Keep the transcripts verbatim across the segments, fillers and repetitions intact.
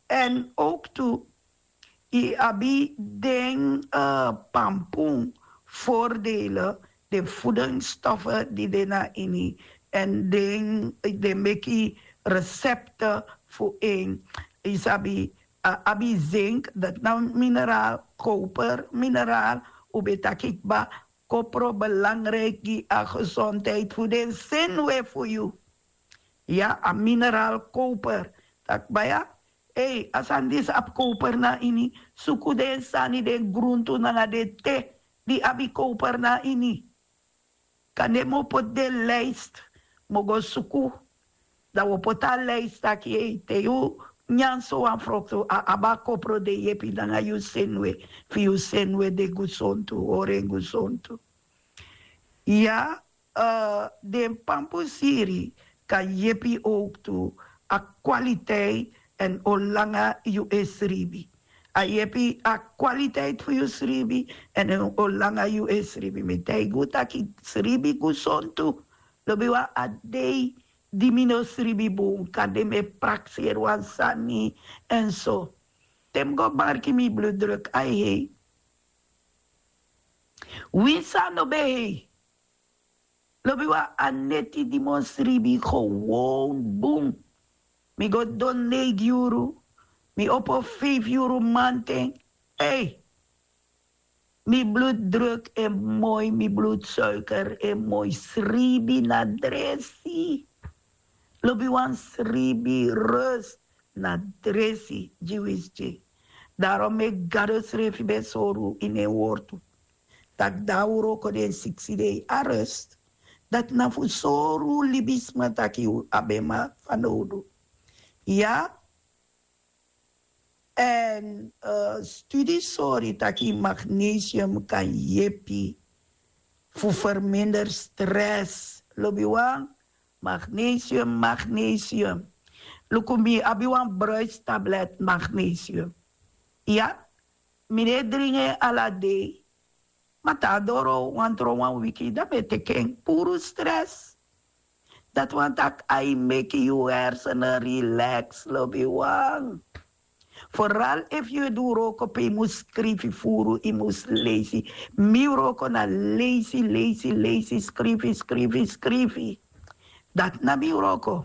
En ook tu, yu abi den pampun, voordelen, den voedingsstoffen di de na ini, en den den meki recepten fu en. Yu sabi, abi zink, dat na mineraal, koper mineraal. Un ben taki kba, kopro belangrijk gi a gezondheid fu den senwe fu yu. Ya, a mineraal koper. Taki kba ya, ei, a sani disi abi koper na ini. Suku den sani, den gruntu nanga den te di abi koper na ini. Kande mi o poti den lijst, mi o go suku. Dan wi o poti a lijst taki, ei, te yu nyan sowan froktu, a abi a kopro de yepi nanga yu senwe, fu yu senwe de gusontu, hori en gusontu. Ya, den pampusiri kan yepi ook tu a kwaliteit en o langa yu e sribi. A yepi a kwaliteit fu yu sribi en o langa yu e sribi. Mi taigi un taki sribi gusontu. Lobi wan a dei di mi no sribi bun, kande mi e prakseri wan sani en so. Te mi go marki mi bloeddruk a hei. Winsi a no ben hei. Lobi wan a neti di mi o sribi gewoon bun. Mi go don neigi yuru. Mi opo feifi yuru manten. Ei. Mi bloeddruk e moi, mi bloedsuiker e moi, sribi na dresi. Lobi wan sribi rust na dresi gi winsi. Darom meki Gado srefi ben sori unu ini en wortu taki dan un wroko den siksi dei a rust. Dati na fu sori un libisma taki un abi en fanowdu. Ya. En studi sori taki magnesium kan yepi fu verminder stress. Lobi wan, magnesium, magnesium. Luku, mi abi wan bruistablet magnesium. Ya, mi no e dringi en ala dei. Ma te a doro wan tron wan wiki, dan mi e teki en. Puru stress. Dati wani taki a e meki yu hersenen relax, lobi wan. Vooral efu yu e du wroko pe yu mus skrifi furu, yu mus leisi. Mi wroko na leisi, leisi, leisi, skrifi, skrifi, skrifi. Dati na mi wroko.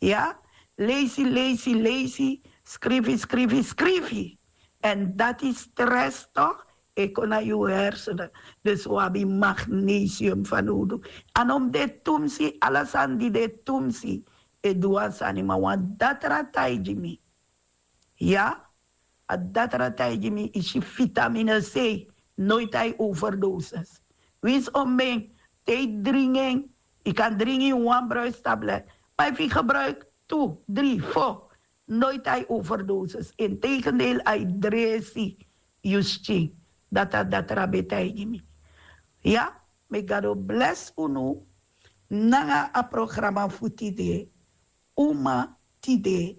Ya, leisi, leisi, leisi, skrifi, skrifi, skrifi. En dati stress toch e kon na yu hersenen. Dus un abi magnesium fanowdu. A no mus de tumsi, ala sani di de tumsi e du wan sani, ma wan datra taigi mi. Ya, a datra taigi mi, isi vitamine C, noiti a e overdosis. Winsi omeni, te yu dringi en, yu kan dringi wan bruistablet. Ma efu yu gebruiki tu, dri, fo, noiti a e overdosis. Integendeel, a e dresi yu skin. Dati a datra ben taigi mi. Ya, meki Gado blesi unu nanga a programa fu tide. Uma tide,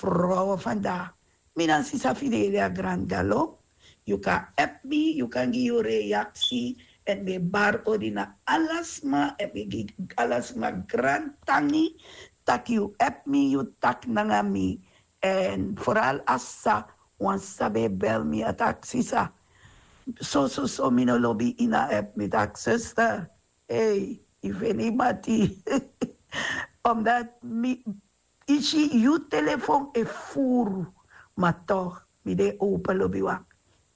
vrouwen vandaag. Mi na sisa Fidelia Grand Galo. Yu kan app mi, yu kan gi yu reaksi. En mi e bari odi na ala sma, en mi gi ala sma grantangi. Taki yu app mi, yu taki nanga mi. En vooral a sisa, wan sisa ben e bel mi, a taki sisa, so, so, so, mi no lobi ini a app, mi taki sister. Ei, yu feni mati. Omdat mi, isi, yu telefon e furu, ma toch mi de open, lobi wan.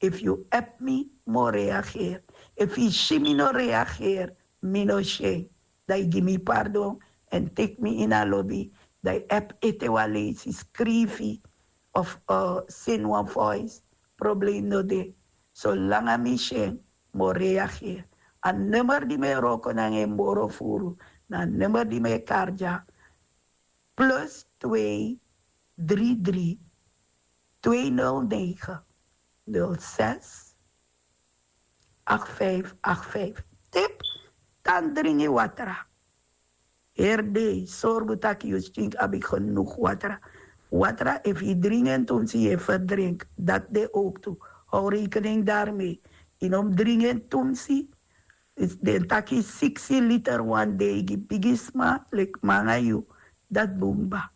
Efu yu app mi, mi o reageer. Efu yu si mi no reageer, mi no si en, dan yu gi mi pardon. En teki mi ini a lobi, dan yu app ete wan leisi, skrifi of seni wan voice. Probleem no de. Solanga mi si en, mi o reageer. A nummer di mi e wroko nanga en moro furu, na a nummer di mi e kari dya, plus twee drie drie twee nul negen nul zes acht vijf acht vijf. Tip, tan dringi watra. Heri dei, sorgu taki yu skin abi genoeg watra. Watra, efu yu dringi en tumsi, yu e verdrink. Dati de ook tu. Hou rekening daarmee. Yu no mus dringi en tumsi. Den taki siksi liter wan dei gi bigisma, leki mi nanga yu. Dati bun kba.